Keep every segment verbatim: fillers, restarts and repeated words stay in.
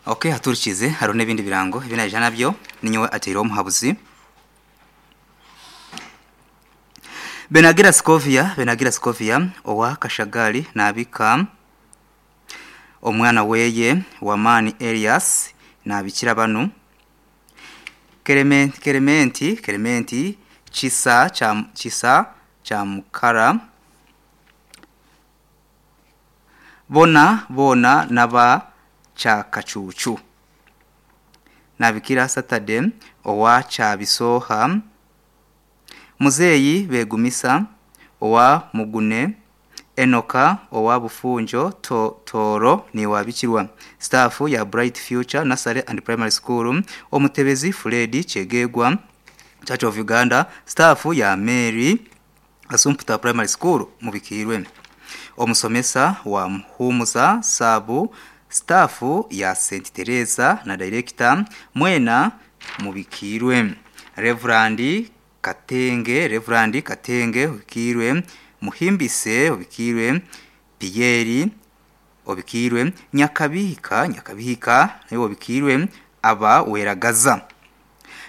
Okay, haturikize hariho n'ebindi birango ebinaija nabyo ninyowe ateire omuhabuzi Benagira Scovia Benagira Scovia owa Kashagali nabika omwana weye wamani Elias nabikira banu Kelementi Kelementi Kelementi Chisa cha Chisa cha Mukara Bona bona naba cha Kachuchu nabikira Saturday owa cha Bisoha Muzeyi Begumisa owa Mugune Enoka owa Bufunjo to, Toro ni wabikirwa staff ya Bright Future Nursery and Primary School Omutebezi Fred Chegegwa Church of Uganda staff ya Mary Asumputa Primary School mubikirwe Omusomesa wa Muhumuza Sabu staff ya Saint Teresa na director Mwena mubikirwe Reverend Katenge Reverend Katenge ubikirwe Muhimbise ubikirwe Pierre obikirwe Nyakabihika Nyakabihika nayo obikirwe aba Weragaza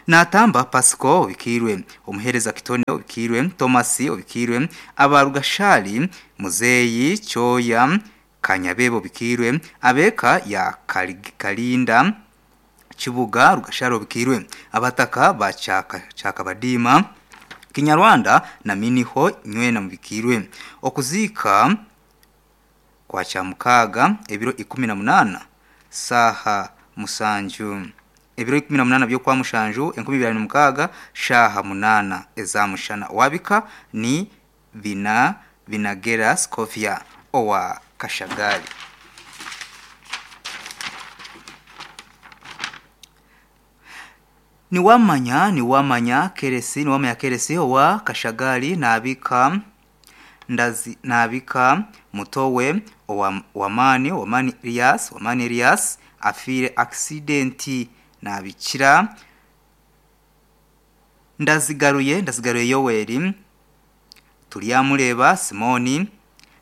Natamba Pasco obikirwe Omuhereza Kitone obikirwe Thomas obikirwe aba Rugashali Muzeyi Choya Kanyabebo obikirwe abeka ya Kalinda Kibuga Rugashali obikirwe abataka ba Chaka Chakabadima Kinyarwanda na miniho nywena mubikirwe okuzika kwa chamukaga ebiro ikumi na munana saha musanju ebiro ikumi na munana byo kwa mushanju enkumi ibiri na mukaga shaha munana ezamushana wabika ni bina binagera Scovia owa Kashagali. Niwamanya niwamanya keresi niwamanya keresi owa Kashagali nabika ndazi nabika mutowe owa wamani wamani Elias wamani Elias afire accidenti nabikira ndazigaruye ndazigaruye Yoweri Tulyamureba Simoni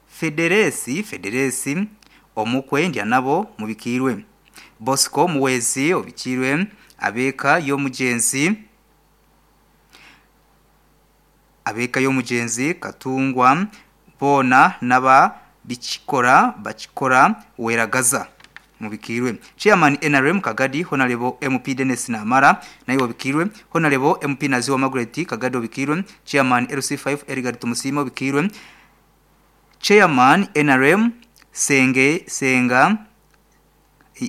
Federesi Federesi omukwe ndya nabo mubikirwe Bosco Muwezi obikirwe abeka yo mugenzi abeka yo mugenzi Katungwa bona naba bikikora bakikora Weragaza mubikirwe Chairman N R M Kagadi Honorable M P Dennis Namara nayo obikirwe Honorable M P Naziwa Margaret Kagadi obikirwe Chairman L C five Edgar Tumusimo obikirwe Chairman N R M Senge Senga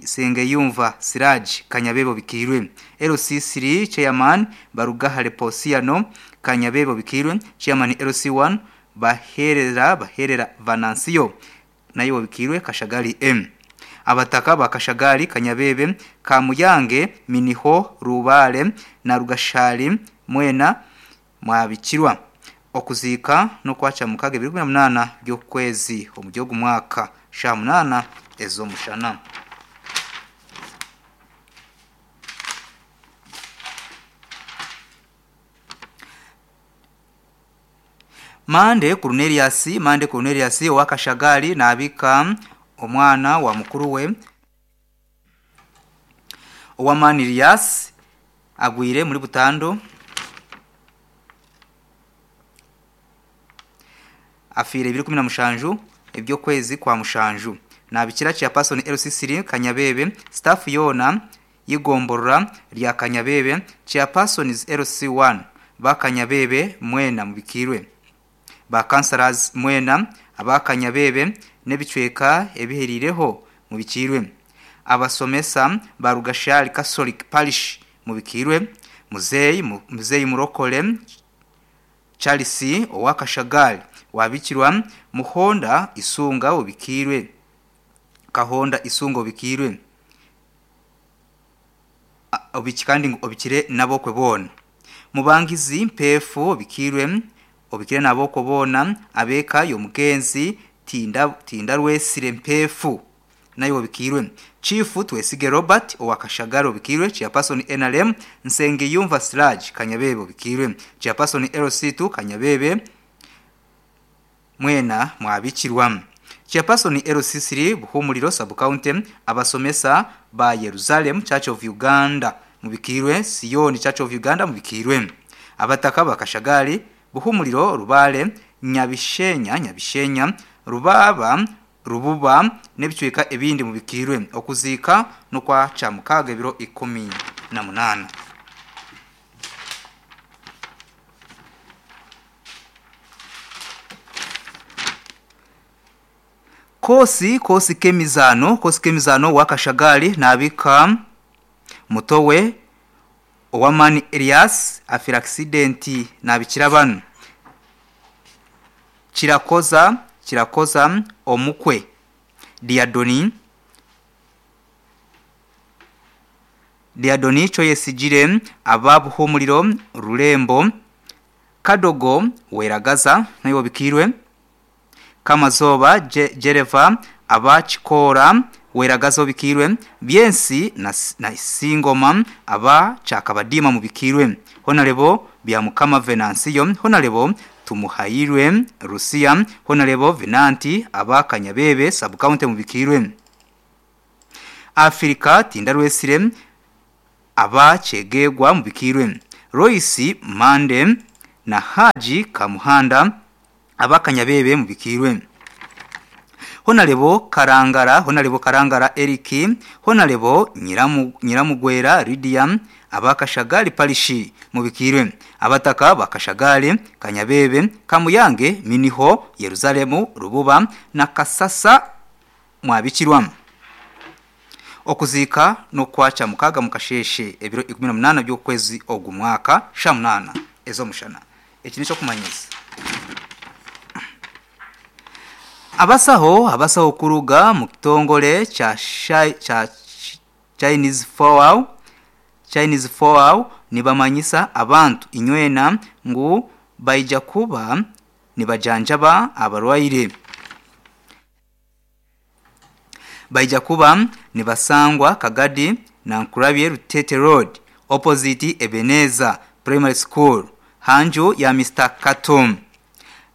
Senge Yumva Siraj Kanyabebo bikirwe L C three Chairman Barugahare Posiano Kanyabebo bikirwe Chairman L C one Baherera Baherera Vanancio nayo bikirwe Kashagali M abataka ba Kashagali Kanyabebe Kamuyange Miniho Rubale na Rugashali Mwena mwabikirwa okuzika no kwacha mukage bibiri na munana byo kwezi omujyogu mwaka sha munana ezo mushana. Mande Cornelius Mande Cornelius wa Kashagali nabika omwana wa mukuru we owa Manilias agwire muri Butando afire ibiri kumi na mushanju ebyo kwezi kwa mushanju nabikira cha person L C three Kanyabebe staff yona yigomborora lya Kanyabebe chairperson is L C one bakanyabebe mwena mubikirwe ba councillors mwena abakanyabebe nebicweka ebiherireho mubikirwe abasomesa barugashali Catholic Parish mubikirwe muzeyi muzeyi murokole Charles owakashagali wabikirwa Muhonda Isunga ubikirwe Kahonda Isunga ubikirwe obikandi obikire nabo kwebona Mubangizi Mpefu obikirwe obikire nabo kubona abeka yo mugenzi tinda tinda rwesire Mpefu nayo obikirwe Chief Twesige Robert owakashagaro obikirwe Chairperson N R M Nsenge Yumva Siraj Kanyabebe obikirwe Chairperson L C two Kanyabebe mwena mwabikirwa Chairperson L C three Buhumuliro Sub-County abasomesa ba Jerusalem Church of Uganda mubikirwe Sion Church of Uganda mubikirwe abataka bakashagali Buhumuliro Rubale Nyabishenya Nyabishenya Rubaba Rububa nebicweka ebindi mubikirwe okuzika no kwa chamukaga ebiro ikumi na munana. Kosi kosi kemizano kosi kemizano wakashagali nabika mutowe Owamani Elias afira accident nabikira banu Kirakoza Kirakoza omukwe Diadoni Diadoni choyesigire ababuhumuliro Rulembo Kadogo Weragaza nayo bikirwe Kamazoba Je, Jereva abachikora Weragaza bikirwe Byensi na, na Singoma aba Chakabadima mubikirwe Honarebo bya Mukama Venansiyo Honarebo Tumuhairwe Rusia Honarebo Venanti aba Kanyabebe sub-county mubikirwe Afrika Tindarwesire aba Chegegwa mubikirwe Royce Mande na Haji Kamuhanda aba Kanyabebe mubikirwe Honarebo Karangara Honarebo Karangara Eriki Honarebo Nyiramu Nyiramugwera Lydia abakashagali palishi mubikirwe abataka bakashagali Kanyabebe Kamuyange Miniho Yerusalemu Rububa na Kasasa mwabikirwa okuzika no kwacha mukaga mukasheshe ebiro ikumi na munana by'okwezi ogu mwaka sha munana ezo mushana eki nico kumanyisa. Abasaho abasaho kuruga mu kitongole cha cha Chinese Fowl Chinese Fowl nibamanyisa abantu inywena ngu baija kuba nibajanjaba abarwaire baija kuba nibasangwa Kagadi na Nkurabye Rutete Road opposite Ebeneza Primary School hanju ya Mister Katum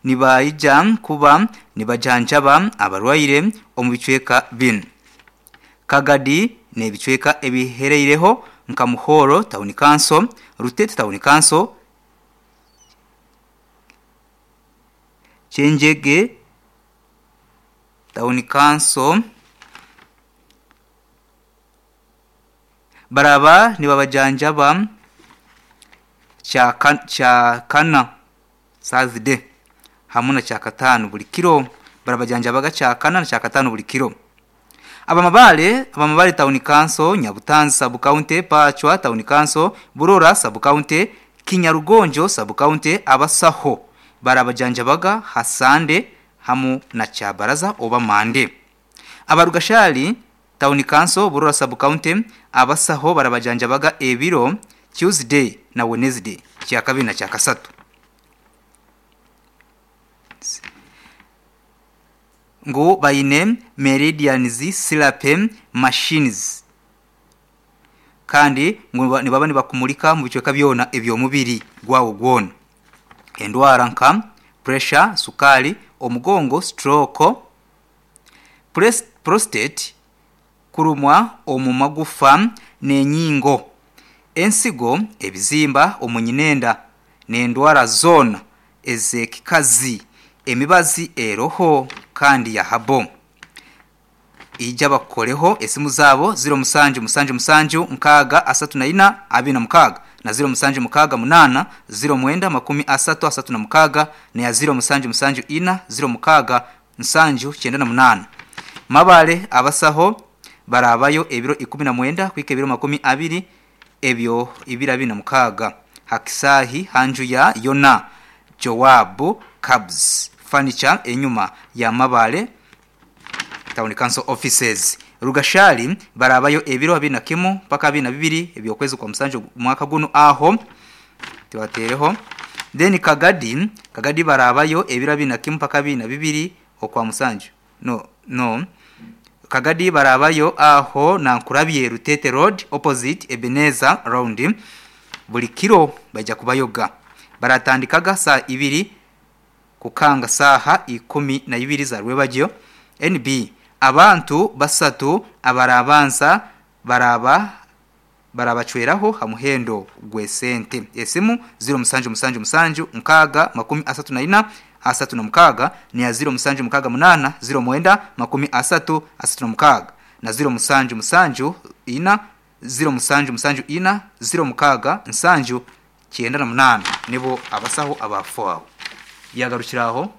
nibaija kuba nibajanjaba abarwaire omu bicweka bin Kagadi nebicweka ebihereireho nka Muhoro Town Council, Rutete Town Council, Chenjege Town Council baraba nibabajanjaba cha cha kana Saturday hamuna cha katano buli kilo barabajanjabaga cha kana na cha katano buli kilo. Abamabale abamabale Town Council, Nyabutanzi Sub County, Pachwa Town Council, Burora Sub County, Kinyarugonjo Sub County abasaho barabajanjabaga Hasande hamu na Chabaraza oba Mande. Abarugashali Town Council, Burora Sub County abasaho barabajanjabaga ebiro Tuesday na Wednesday kya kabiri na kya kasatu. Ngo bayine meridians silape machines kandi ngo nibaba nibakumulika mu bicweka byona ebyo mubiri gwawo gwona endwara nka pressure, sukali, omugongo, stroke, prostate, kurumwa omumagufa nenyingo, ensigo, ebizimba omunyinenda nendwara zona ezekikazi, emibazi eroho kandi ya habo. Ija bakoreho esimu zabo zero musanju musanju musanju nkaga asatu na ina abina mukaga na zero musanju mukaga munana zero mwenda makumi asatu asatu na mukaga na ya zero musanju musanju ina zero mukaga nsanju chenda na munana. Mabale abasaho barabayo ebiro ikumi na mwenda kwika ebiro makumi abiri ebyo ibira bina mukaga. Hakisahi hanju ya Yona Jowabu Cabs Furniture enyuma ya Mabale Town Council Offices. Rugashali barabayo ebiro abiri na kimu paka abiri na bibiri ebyokwezi kwa musanju mwaka guno aho tibatereho. Then Kagadi Kagadi barabayo ebiro abiri na kimu paka abiri na bibiri okwa musanju no no Kagadi barabayo aho na Nkurabye Rutete Road opposite Ebeneza Round buli kiro bajya kubayoga. Baratandikaga saa ibiri kukanga saha ikumi na ibiri za rwebagyo N B abantu basatu abarabanza baraba barabacweraho ha muhendo gw'esente. Esimu ziro musanju musanju musanju nkaaga makumi asatu na ina asatu na mukaaga, niya ziro musanju mukaaga munaana ziro mwenda makumi asatu asatu na mukaaga, na ziro musanju musanju ina ziro musanju musanju ina ziro mukaaga nsanju kyenda na munaana. Nibo abasaho abafu aho yagarukira aho.